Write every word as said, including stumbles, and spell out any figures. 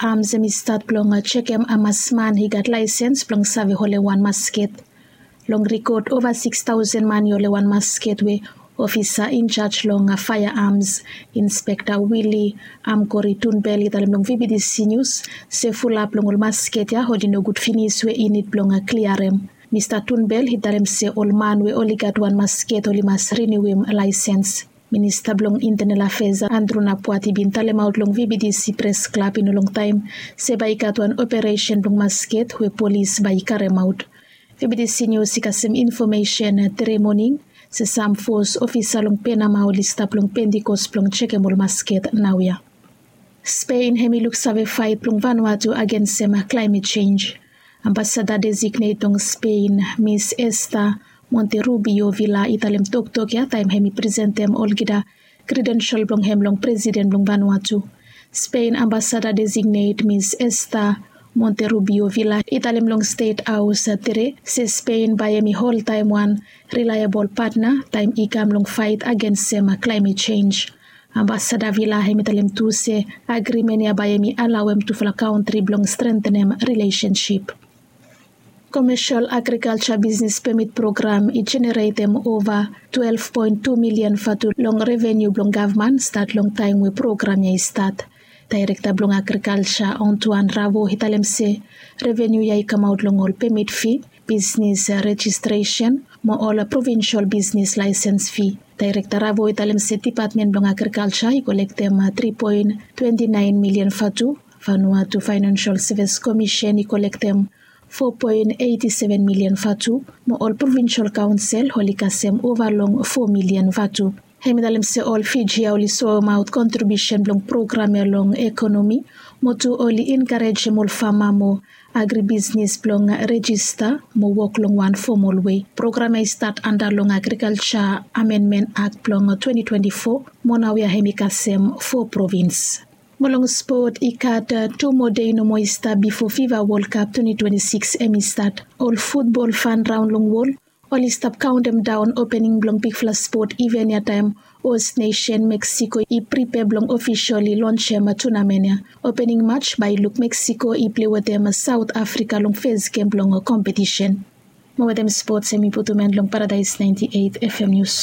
Arms hem i stat blong jekem hamas man i gat laesens blong save holem wan masket. Long rikod ova sikstaosen man i holem wan masket we ofisa injaj long faea arms, Inspekta Willy Amkori Tunbel, i talem long VBTC News se fulap long ol masket ya oli nogud finis we i nid blong kliarem. Mista Tunbel i talem se ol man we oli gat wan masket oli mas riniuim laesens. Minista blong Intenal Afeas Andrew Napuati bin talemaot long VBTC Pres Klab i no longtaem se bae i gat wan operesen blong masket we polis bae i karemaot. VBTC News i kasem infomesen tre moning se sam fos ofisa long Penama oli stap long Pentikos blong jekem ol masket naoia. Spen hem i luksave faet blong Vanuatu agensem klaemet jenj. Ambasada designet blong Spen, Mis Esta Monterrubio Villa, i talem toktok ya taem hem i presentem olgeta kredensel blong hem long presiden blong Vanuatu. Spen ambasada designet Mis Esta Monterrubio Villa i talem long Stet Haos tede se Spen bae hem i oltaem wan rilaebol patna taem i kam long faet agensem klaemet jenj. Ambasada Villa hem i talem tu se agrimen ya bae hem i alaoem tufala kantri blong strentenem rilesensip. Komesel agrikalja bisnes pemit program i jeneretem ova twelef poen tu milian vatu long reveniu blong gavman stat long taem we program ya i stat. Daerekta blong agrikalja Antoine Ravo i talem se reveniu ya i kamaot long ol pemit fi, bisnes rejistresen mo ol provinsel bisnes laesens fi. Daerekta Ravo i talem se depatmen blong agrikalja i kolektem tri poen twenti naen milian vatu, Vanuatu Faenensel Sevis Komisen i kolektem fo poen eiti seven milian vatu, mo ol provinsel kaonsel oli kasem ova long fo milian vatu. Hem i talem se ol Fiji ya oli soemaot kontribiusen blong program ya long ekonomi, mo tu oli enkarejem ol fama mo agribisnes blong rejista mo wok long wan fomol wei. Program ya i stat anda long Agrikalja Amenmen Akt blong twenti twenti fo, mo naoia hem i kasem fo provins. Mo long spot, i gat tu moa dei nomo i stap bifo Fifa Wol Kap twenti twenti sikis hem i stat. Ol futbol fan raon long wol oli stap kaontem daon opening blong bigfala spot iven ya taem host nesen Meksiko i pripea blong ofiseli lonsem tunamen ya. Opening maj bae i luk Meksiko i plei wetem Saot Afrika long fes gem blong kompetisen. Mo wetem spots hem i putum en long Paradaes naenti eit FM Nius.